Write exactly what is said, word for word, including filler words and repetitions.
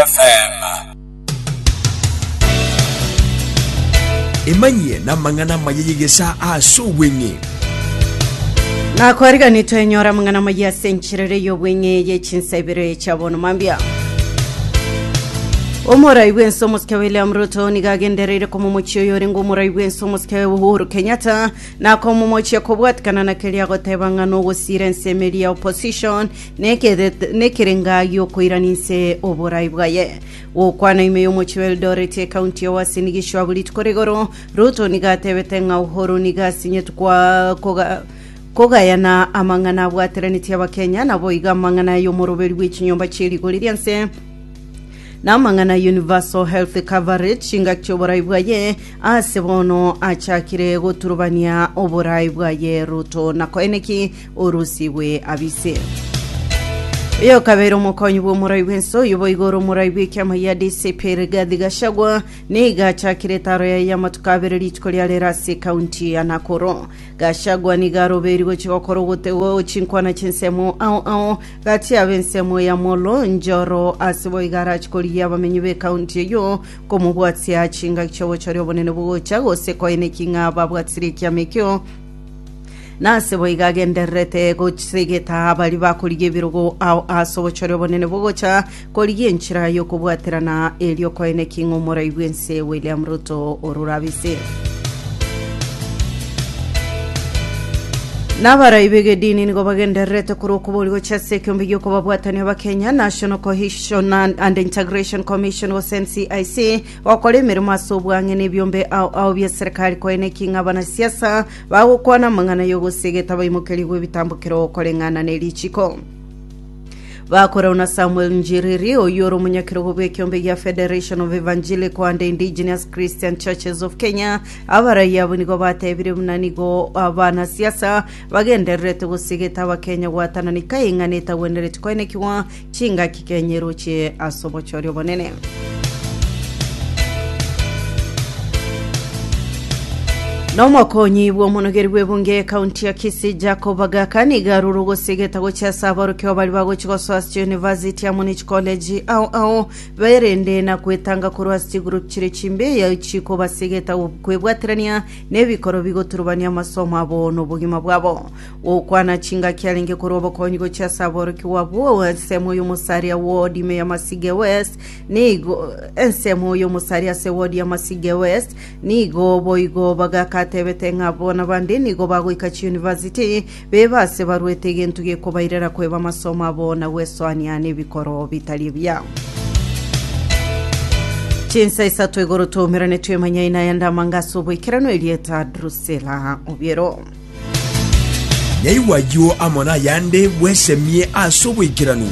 F M. Emanyie n'amang'ana amaya y'egesa ase obweng'e. Nakwariganitwe twenyora mang'ana maya ase encherere y'obweng'e ye chinsa ibere chia bono mambia. Omorai bwense omosike William Ruto nigo agendereire komomochia oyo orenge omorai bwense omosike Uhuru Kenyatta na komomochia kobwatikana na keria agoteba ng'a nogosira ensemo eria ya opposition nekere- nekerenga giokoirana inse oborai bwaye. Gokwana ime y'omochi wa Eldoret, ekaunti ya Uasin Gishu, abwo rituko rigoro, Ruto nigo atebete ng'a Uhuru nigo asinyetwe kwa koga kogayana amang'ana abwateraneti abakenya, nabo iga amang'ana y'omoroberi bw'echinyomba chi'erigori ria nse namang'ana universal health coverage chingaki chioborai bwaye. Ase bono achakire goturubania oborai bwaye Ruto nakoeneki orusigwe abise. Oyo kabere omokonyi bwa omorai bwense oyo boigoro omorai bw'ekiama ya D C P Rigathi Gachagua niga achakire etaro yaye y'amatuko abere rituko ria rero ase ekaunti ya Nakuru. Gachagua niga aroberi gochi gokora ogotego chinkwana chinsemo ao ao gati abe ensemo ya Molo Njoro ase boiga arachi korigia abamenyi b'ekaunti eyo komobwatia chingaki chiobochori obonene bogocha gose koeneki ng'a babwatire ekiama ekio. Nase boiga agendererete gosegeta abari bakorigia ebirogo ao ase obochori obonene bogocha korigia enchera yokobwaterana erio koeneki ng'a omorai bwense William Ruto orurabise. Nabarai begedini nigo bagendererete korwa okobori gochia ase ekiombe giokobabwatania abakenya, National Cohesion and Integration Commission gose N C I C, gokora emeremo ase obwang'e na ebiombe ao ao bia serikali koeneki ng'a abanasiasa bagokwana amang'ana yogosegeta baimokerigwe ebitambukero koreng'ana na erichiko. Bakorau na Samuel Njiriri oyo ore omonyakerogo bw'ekiombe gia Federation of Evangelical and Indigenous Christian Churches of Kenya, abarai abo nigo batebire buna nigo abanasiasa bagendererete gosegeta abakenya gwatananika eng'ana etagwenereti koenekiwa chingaki Kenya erochie ase obochori obonene. Nomokonyi bw'omonogeri bw'ebunge ekaunti ya Kisii Jacob Agaka nigo arure ogosegeta gochia ase abarokio bari bagochi gosoa ase university amo ne chicollege ao ao berende na kwetanga korwa ase chigroup chire chimbe chikobasegeta kwebwaterania n'ebikoro bigoturubania amasomo abo n'obogima bwabo. Gokwana chingaki arenge korwa obokonyi gochia ase aborokigwa abwo ensemo y'omosaria ward ime ya Masige West, nigo ensemo y'omosaria ase ward ya Masige West, nigo boigo bagakatebete ng'a bona bande nigo bagoika chiuniversity bebase barwete egento gekobairera kweba amasomo abo na gwesoania n'ebikoro bitari ebiya. Chinsa isato igoro twaumerane twemanya ina yandamanga ase oboikerano. Erieta Drusela Obiero. Nyaigwa ayio amo na ayande bwesemie ase oboikeranu.